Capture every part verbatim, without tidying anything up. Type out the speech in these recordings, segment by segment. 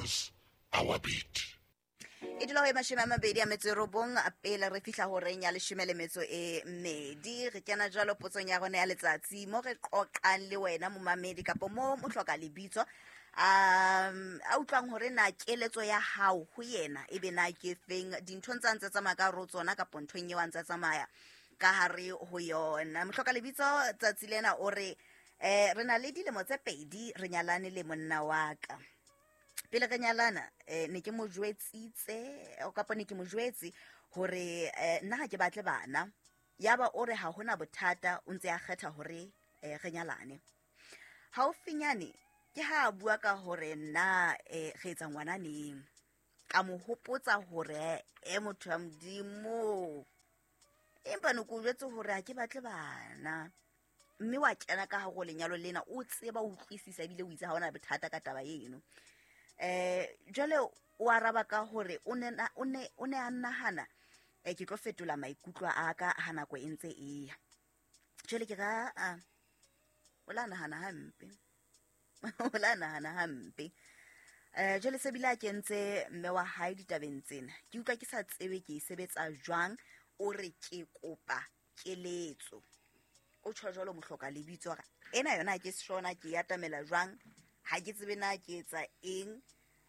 Dance our beat. E dula ho e mashome a mabedi a metso e robong pele re fihla horeng ya leshome le metso e mmedi. Re kena jwalo potsong ya rona ya letsatsi mo re qoqang le wena momamedi kapa mo mo hloka lebitso um a utlwang hore na keletso ya hao ho yena e be na ke feng dinthong tsa ntse tsamaya ka ro tsona kapa nthong eo a ntse tsamaya ka hare ho yona. Mohloka lebitso tsatsi lena o re eh re na le dilemo tse pedi re nyalane le monna wa ka. Pele re nyalana eh ne ke mo jwetsitse kapa ne ke mo jwetse hore nna ha ke batle bana. Yaba o re ha hona bothata o ntse a kgetha hore re nyalane. Haufinyane ke ha bua ka hore nna re etsa ngwana neng. Ka mo hopotsa hore e motho wa Modimo empa ne ke o jwetse hore ha ke batle bana. Mme wa kena ka hare ho lenyalo lena o tseba o utlwisisa ebile o itse ha hona bothata ka taba eno. Eh jwale o araba ka hore o ne o ne o ne a nahana eh ke tlo fetola maikutlo a ka ha nako e ntse e ya. Jwale ke ra a o la nahana hampe. O la nahana hampe. Eh jwale se bile a kentse mme wa hae ditabeng tsena. Ke utlwa ke sa tsebe ke e sebetsa jwang, o re ke kopa keletso. O tjho jwalo mohloka lebitso ra ena yona ke seshona ke ya atamela jwang. Ha ke tsebe na ke etsa eng,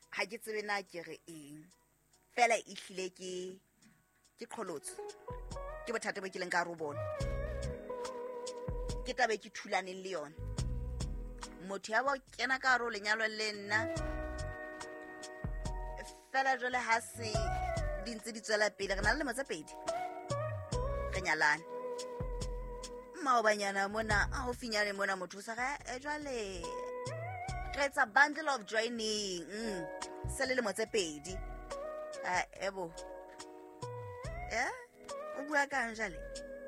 ha ke tsebe na ke re eng. Fela e hlile ke ke qholotso. Ke bothata bo ke leng ka ro bona. Ke tabe ke thulaneng le yona. Motho ya ba kena ka ro lenyalo le nna. Fela jwale ha se di ntse di tswela pele re na le lemo tse pedi. Re nyalane. Maobanyana mona a ho finyane mona motho sa re jwale re etsa bundle of joining. Mm. Se le lemo tse pedi. Ah ebo. Eh? O bua kang jwale?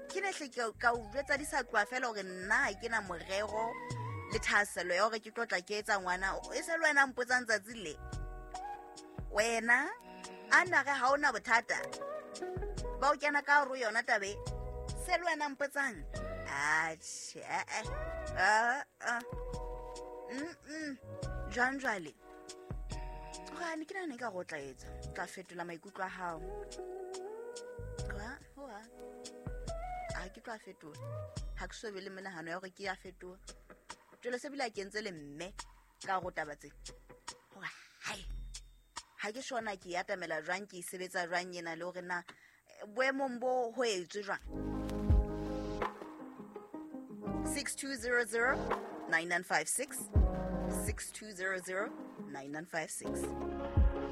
Ke ne hle ke ka o jwetsa di sa tloha fela hore nna ha ke na morero le thahasello ya hore ke tlo tla ke etsa ngwana. E se le wena mpotsang tsatsi le. Wena a na re ha ona bothata. Ba o kena ka hore yona tabe. Se le wena mpotsang. Atjhe. Ah ah. Mm mm. Jwang jwale? Ga ne ke nahana ka go tla etsa. Tla fetola maikutlo a hao. Kwa hoa. A ke tla fetola. Ha ke so be le menahano ya hore ke ya fetola. Jwale se bile a kentse le mme ka go taba tse. Hore hai. Ha ke shona ke ya atamela jwang ke sebetsa jwang yena le hore na boemong bo ho etswe jwang. six two zero zero nine nine five six six two zero zero nine nine five six.